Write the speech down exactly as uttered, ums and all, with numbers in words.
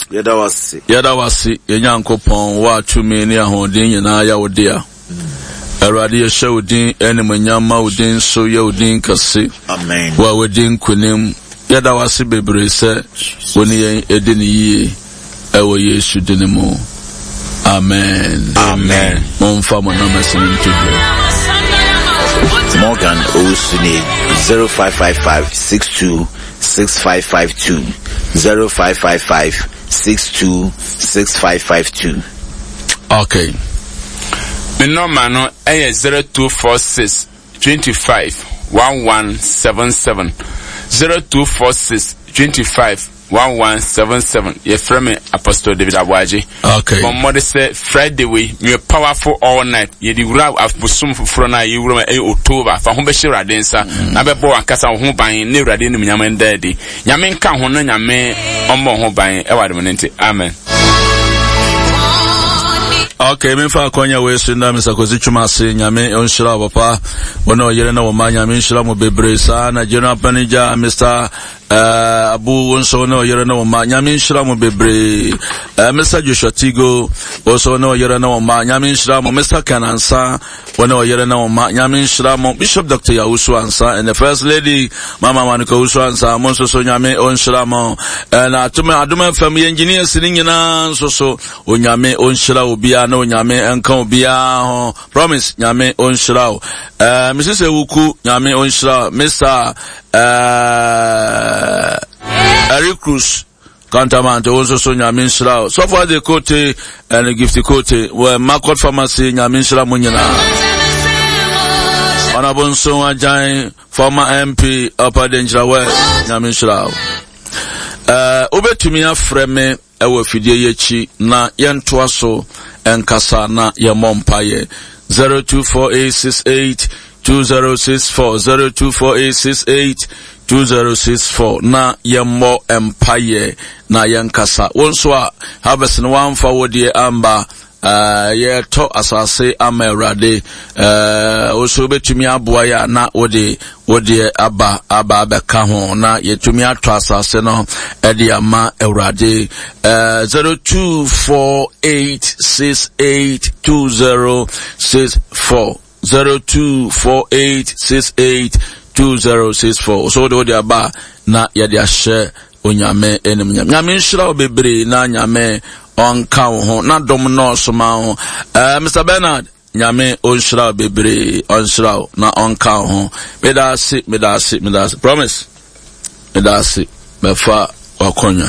Yɛda wo ase. Yɛda wo ase, yɛn Nyankopɔn, wo a tumi ne ahoɔden nyinaa yɛ wo dea. Awurade, yɛhyɛ wo din animuonyam ma wo din so yɛ wo din kɛse. Amen. Wo a wadi nkonim. Yɛda wo ase bebree sɛ wo ne yɛn adi no yie ɛwɔ Yesu din mu. Amen. Amen. Momfa mo numbers no nto dwa. Morgan Owusune zero five five five six two six five five two zero five five five six two six five five two. Okay. Me nɔma no ɛyɛ zero two four six twenty five one one seven seven zero two four six twenty five one one seven seven. Yɛfrɛ me Apostle David Aboagye. Okay. Bɔ mmɔde sɛ Friday wei meyɛ powerful all night. Yɛde wura abosom foforɔ no a yɛwura mu ɛyɛ October. Fa ho bɛhyɛ Awurade nsa na bɛbɔ w'ankasa wo ho ban ne Awurade animuonyam nda adi. Nyame nka ho na Nyame ɔmmɔ ho ban ɛwɔ adom no nti. Amen. Okay, memfa akwanya wei so nna Mister Kwasi Twum ase. Nyame ɔnhyira wo papa, wo ne ɔyere ne wo mma. Nyame nhyira mo bebree saa. Na General Manager Mister Uh, Abu, wo nso ne ɔyere ne wo mma, Nyame nhyira mo bebree. uh, Mister Joshua Tigo, wo nso ne ɔyere ne wo mma, Nyame nhyira mo. Mister Ken Ansa, wo ne ɔyere ne wo mma, Nyame nhyira mo. Bishop Doctor Yawusu Ansa and the First Lady Mama Manuka Wusu Ansa, mo nso so Nyame ɔnhyira mo. Na atome Adom F M yɛ engineers ne nyinaa nso so, Onyame ɔnhyira obiara na Onyame nka obiara ho. Promise, Nyame ɔnhyira wo. uh, Missus Ewuku, Nyame ɔnhyira wo. Mister Uh, Eric Cruz Kantamante, wo nso so Nyame nhyira wo. Sɔfo Ade Kote and Gift Kote wɔ Makot Pharmacy, Nyame nhyira mo nyinaa. Honorable Nson Agyan, former M P Upper Denkyira West, Nyame nhyira wo. Uh, wobɛtumi afrɛ me ɛwɔ afidie yi akyi na yɛntoa so ɛnkasa na yɛmmɔ mpaeɛ. zero two four eight six eight two zero six four, zero two four eight six eight two zero six four na yɛmmɔ mpaeɛ na yɛnkasa. Wo nso a harvest no wamfa wo deɛ amba, uh, yɛtɔ asase ama Awurade. Uh, wo nso wobɛtumi aboa yɛ a na wode wo deɛ aba, aba abɛka ho na yɛtumi atɔ asase no ɛde ama Awurade. Uh, zero two four eight six eight two zero six four, zero two four eight six eight two zero six four. So wode wode aba na yɛde ahyɛ Onyame anim. Nyame nhyira wo bebree na Nyame ɔnka wo ho na dom nɔɔso ma wo. Uh, Mister Bernard, Nyame ɔnhyira wo bebree, ɔnhyira wo na ɔnka wo ho. Meda ase, meda ase, meda ase. Promise. Meda ase. Mɛfa wakɔnya.